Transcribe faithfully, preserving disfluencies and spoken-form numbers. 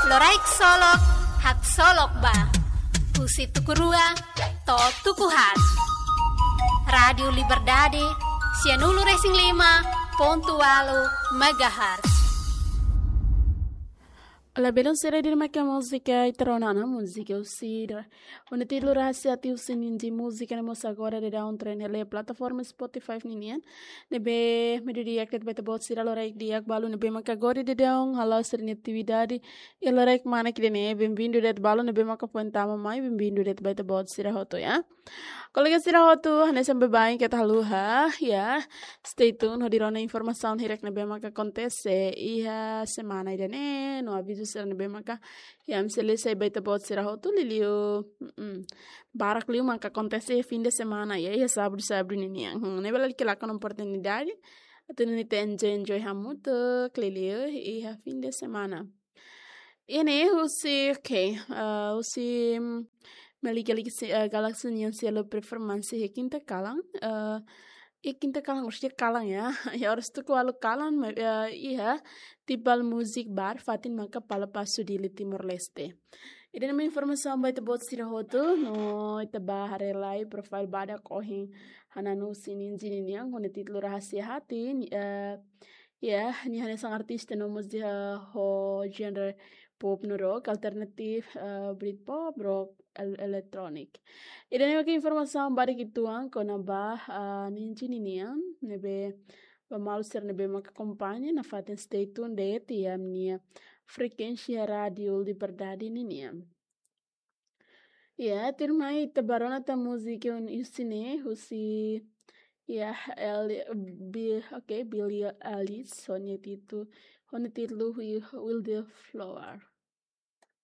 Loraik Solok, haksolok ba. Husi tuku rua to'o tuku haat. Rádiu Liberdade, sianulu-resin-lima pontu ualu megahertz. Labelun sira di maka múzika ita rona ona múzika husi da. Hodi títulu Rahasia Hati husi Ninji, múzika ne'e mós agora daudaun trein hela iha plataforma Spotify ninian. Ne'ebé meiudia di'ak de'it ba ita-boot sira, loraik di'ak ba alin ne'ebé maka agora daudaun hala'o sira-nia atividade. Iha loraik manas ida-ne'e, bem-vindo de'it ba alin ne'ebé maka foin tama mai, bem-vindo de'it ba ita-boot sira hotu, ya. Kolega sira hotu, hanesan baibain keta haluha, ya. Stay tune hodi rona informasaun hirak ne'ebé maka akontese iha semana ida-ne'e, no avizu sira ne'ebé maka, ya, ami sei lori sai ba ita-boot sira hotu, liuliu, mm, barak liu maka akontese iha fim de semana, ya, iha sábadu, sábadu ninian. Hmm, ne'e bele lalika lakon oportunidade atu nune'e ita enjoy, enjoy hamutuk, liuliu iha fim de semana. Iha ne'e husi, oke, eh, husi, mm, Meli Galaxy, eh, Galaxy nian selo performance iha kinta kalan, eh, iha kinta kalan, orsida kalan, ya. Ya, oras tuku ualu kalan, ma-, eh, iha Tibal Music Bar, fatin maka Palapasu Dili, Timor-Leste. Ida-ne'e mak informasaun ba ita-boot sira hotu, no ita bá haree lai profile badak ohin hananu husi Ninji ninian, ho nia títulu Rahasia Hati, ni-, eh, ya, nia hanesan artista no múzika ho genre pop no rock, alternatif, eh, Britpop, rock, el-, electronic. Ida-ne'e mak informasaun badak uitoan kona-ba, eh, Ninji ninian, ne'ebé ba maluk sira ne'ebé maka akompaña nafatin, stay tune de'it iha ami-nia frekuénsia Rádiu Liberdade ninian. Ya, tuirmai ita bá rona tan múzika un husi ne'e, husi, ya, El-, Bi-, oke, Billie Eilish, ho nia títu-, ho nia títulu Wi-, Wildflower.